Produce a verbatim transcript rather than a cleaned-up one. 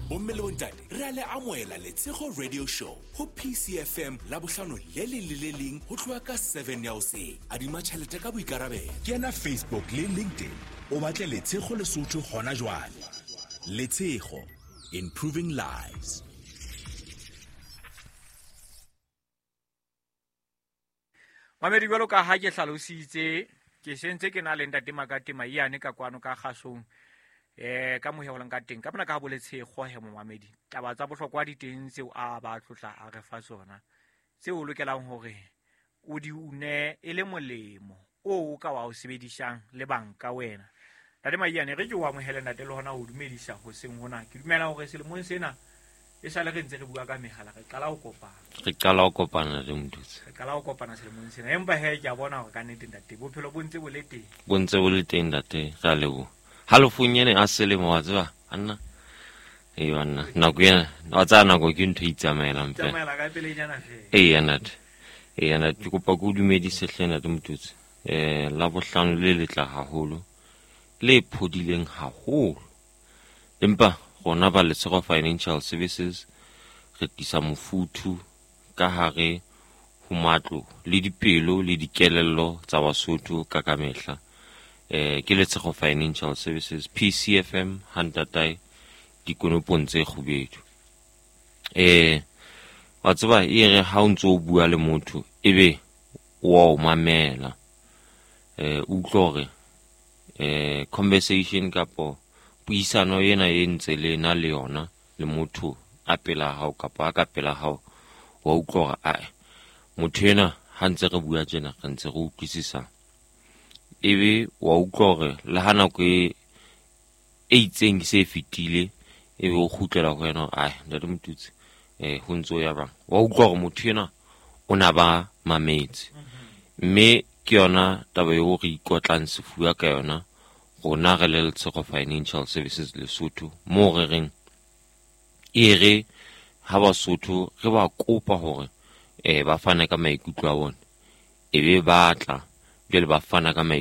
Bomme le bontate, re a le amohela Letshego Radio Show ho P C F M, Labohlano le leng le le leng ho tloha ka seven ya hoseng. Adima tjhelete ka boikarabelo. Kena Facebook le LinkedIn, o batle Letshego Lesotho hona jwale. Letshego, improving lives. Mamedi, jwalo ka ha ke hlalositse, ke sentse ke na le ntate Makate Maiyane ka kwano ka kgasong, eh ka mohelang ka teng ka mona ka boletse he momamedi. Taba tsa bohlokwa di teng tseo a ba tlotla a re fa tsona, tseo o lokelang hore o di une e le molemo o o ka wa o sebedisang le banka wena. Ntate Maiyane, re ke o amohele ntate le hona ho dumedisa hoseng hona. Ke dumela hore selemong sena e sale re ntse re bua ka mehala, re qala ho kopana. Re qala ho kopana le Motutsi. Re qala ho kopana selemong sena, empa he ke a bona hore ka nnete ntate bophelo bo ntse bo le teng. Bo ntse bo le teng ntate, re a leboha. Halofong ene a selemo, wa tseba anna ee banna, nako ena wa tsaya nako ke ntho e itsamaelang fela. Tsamaela ka pelenyana fela. Eya ntate, eya ntate, ke kopa ke o dumedise hle ntate Motutsi. um Labohlano le letla haholo, le phodileng haholo, empa rona ba Letshego Financial Services re tlisa mofuthu ka hare ho matlo le dipelo le dikelello tsa Basotho ka kamehla. eh ke Letshego Financial Services, P C F M, hantatae dikonopong tse kgubedu. eh wa tseba e re ha o ntso o bua le motho ebe wa o mamela, eh utlwa hore eh conversation kapo puisano ena e ntse le na le yona le motho a pela hao kapa a ka pela hao, wa utlwa hore ae motho ena ha ntse re bua tjena re ntse re utlwisisa. Ebe wa utlwa hore le ha nako e e itseng se fetile, ebe o kgutlela ho wena, ai ntate Motutsi, eh ho ntso ya bang, wa utlwa hore motho ena o na ba mametse. Mme ke yona taba eo re ikotlang sefuba ka yona rona re le Letshego Financial Services Lesotho, moo re reng e re ha Basotho re ba kopa hore eh ba fane ka maikutlo a bona, ebe ba tla jwale ba fana ka maikutlo.